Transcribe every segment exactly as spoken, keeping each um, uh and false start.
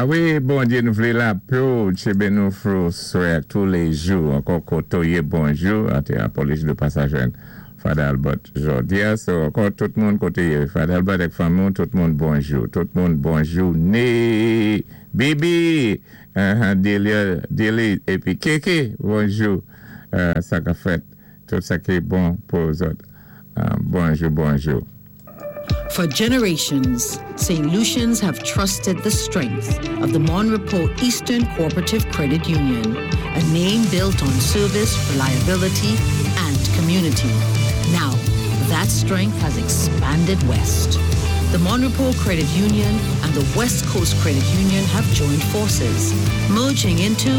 A wi, Bondyé, nou vlé lapè ou, tjinbé nou through swè touléjou. Ankò koté ou yé bonjou, an té apoloji de pa sa jwenn Father Albert jòdi-a. So, ankò tout moun koté Father Albert èk fanmi, tout moun bonjou. Tout moun bonjou. Né, Bibi, uh, Delia, Deli, épi Keke, bonjou. Uh, sa ka fèt, tout sa ki bon pou zòt. Uh, bonjou, bonjou. For generations, St. Lucians have trusted the strength of the Mon Repos Eastern Cooperative Credit Union, a name built on service, reliability, and community. Now, that strength has expanded west. The Mon Repos Credit Union and the West Coast Credit Union have joined forces, merging into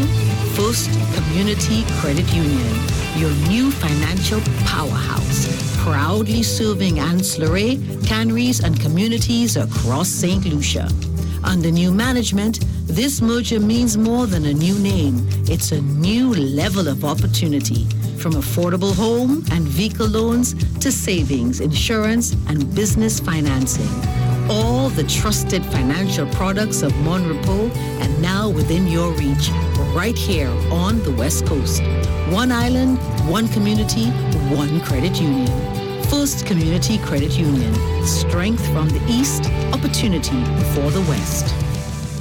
First Community Credit Union, your new financial powerhouse, proudly serving Anse La Raye, Canaries, and communities across St. Lucia. Under new management, this merger means more than a new name. It's a new level of opportunity. From affordable home and vehicle loans to savings, insurance, and business financing. All the trusted financial products of Mon Repos and now within your reach, right here on the West Coast. One island, one community, one credit union. First Community Credit Union. Strength from the East, opportunity for the West.